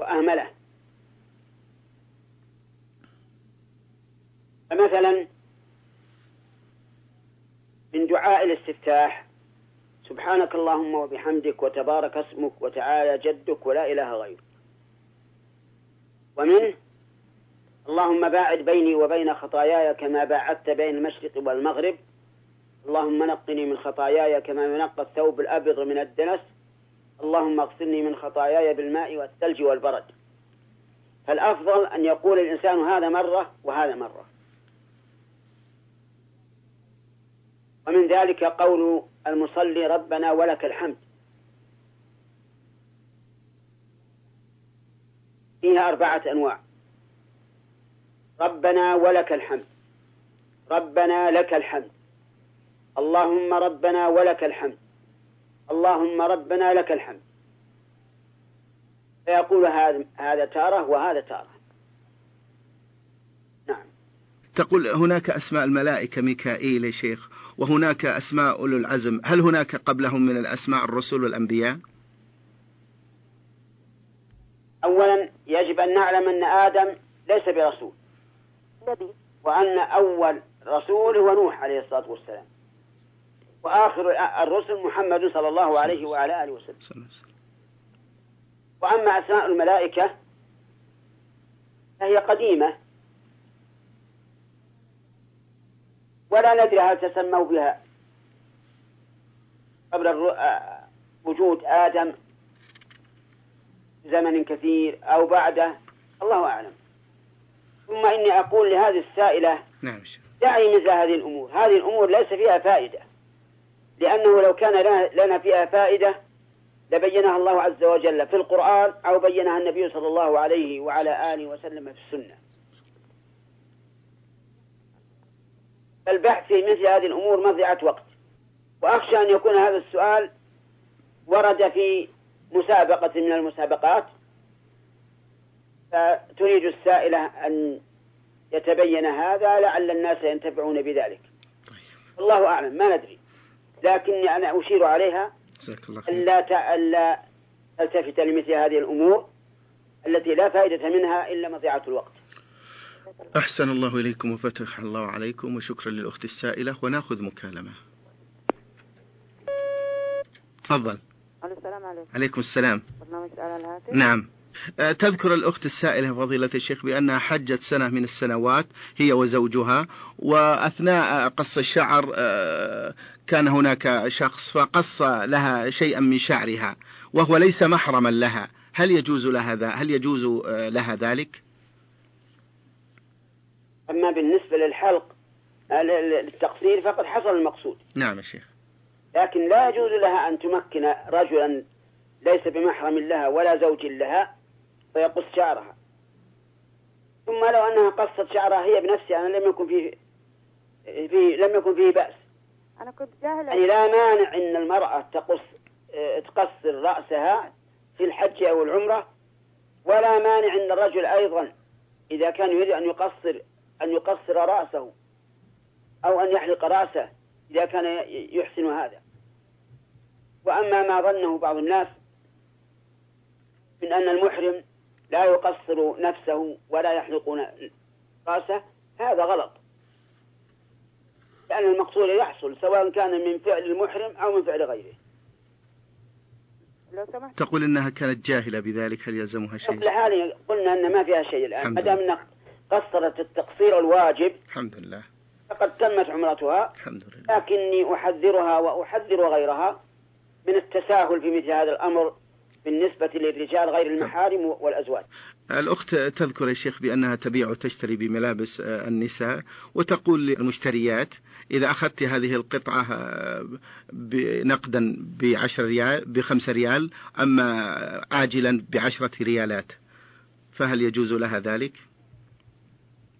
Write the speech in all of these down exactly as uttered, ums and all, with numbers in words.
وأهمله. فمثلا من دعاء الاستفتاح: سبحانك اللهم وبحمدك وتبارك اسمك وتعالى جدك ولا إله غيرك. ومنه: اللهم باعد بيني وبين خطاياي كما باعدت بين المشرق والمغرب، اللهم نقني من خطاياي كما ينقى الثوب الأبيض من الدنس، اللهم اغسلني من خطاياي بالماء والثلج والبرد. فالأفضل أن يقول الإنسان هذا مرة وهذا مرة. ومن ذلك قول المصلي: ربنا ولك الحمد، فيها أربعة أنواع: ربنا ولك الحمد، ربنا لك الحمد، اللهم ربنا ولك الحمد، اللهم ربنا لك الحمد. فيقول هذا هذا تارة وهذا تارة. نعم. تقول هناك أسماء الملائكة ميكائيل يا شيخ، وهناك أسماء أولو العزم، هل هناك قبلهم من الأسماء الرسل والأنبياء؟ أولا يجب أن نعلم أن آدم ليس برسول، وأن أول رسول هو نوح عليه الصلاة والسلام، وآخر الرسل محمد صلى الله عليه وعلى آله وسلم. وأما أسماء الملائكة فهي قديمة ولا ندري هل تسموا بها قبل وجود آدم زمن كثير أو بعده، الله أعلم. ثم إني أقول لهذه السائلة: نعم، دعي مثل هذه الأمور، هذه الأمور ليس فيها فائدة، لأنه لو كان لنا فيها فائدة لبينها الله عز وجل في القرآن أو بينها النبي صلى الله عليه وعلى آله وسلم في السنة. البحث في مثل هذه الأمور مضيعة وقت، وأخشى أن يكون هذا السؤال ورد في مسابقة من المسابقات، فتريد السائلة أن يتبين هذا لعل الناس ينتفعون بذلك. الله أعلم، ما ندري، لكني أنا أشير عليها ألا ألا تلتفت لمثل هذه الأمور التي لا فائدة منها إلا مضيعة الوقت. أحسن الله إليكم وفتح الله عليكم، وشكرا للأخت السائلة. ونأخذ مكالمة. تفضل. السلام عليكم. عليكم السلام. برنامج على الهاتف. نعم. تذكر الأخت السائلة فضيلة الشيخ بأنها حجت سنة من السنوات هي وزوجها، وأثناء قص الشعر كان هناك شخص فقص لها شيئا من شعرها وهو ليس محرما لها، هل يجوز لها ذا هل يجوز لها ذلك؟ أما بالنسبة للحلق للتقصير فقد حصل المقصود. نعم يا شيخ. لكن لا يجوز لها أن تمكن رجلا ليس بمحرم لها ولا زوج لها فيقص شعرها. ثم لو أنها قصت شعرها هي بنفسها أنا لم يكن فيه, فيه لم يكن فيه بأس. أنا كنت جاهلة. يعني لا مانع أن المرأة تقص تقصر رأسها في الحج أو العمرة، ولا مانع أن الرجل أيضا إذا كان يريد أن يقصر أن يقصر رأسه أو أن يحلق رأسه إذا كان يحسن هذا. وأما ما ظنه بعض الناس من أن المحرم لا يقصر نفسه ولا يحلق رأسه، هذا غلط، لأن المقصود يحصل سواء كان من فعل المحرم أو من فعل غيره. تقول إنها كانت جاهلة بذلك، هل يلزمها شيء؟ قبل حالي قلنا أن ما فيها شيء الآن، ما دام أنها قصرت التقصير الواجب الحمد لله فقد تمت عمرتها. الحمد لله. لكني أحذرها وأحذر غيرها من التساهل في مثل هذا الأمر بالنسبة للرجال غير المحارم والأزواج. الأخت تذكر يا شيخ بأنها تبيع وتشتري بملابس النساء، وتقول للمشتريات: إذا أخذت هذه القطعة نقدا بعشر ريال بخمس ريال، أما آجلا بعشرة ريالات، فهل يجوز لها ذلك؟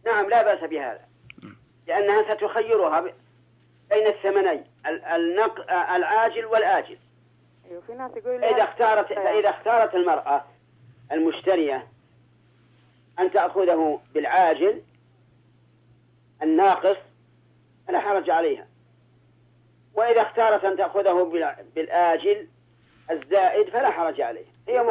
نعم، لا بأس بهذا، لأنها ستخيرها بين الثمنين العاجل والآجل. إذا اختارت إذا اختارت المرأة المشترية أن تأخذه بالعاجل الناقص فلا حرج عليها، وإذا اختارت أن تأخذه بالآجل الزائد فلا حرج عليها. هي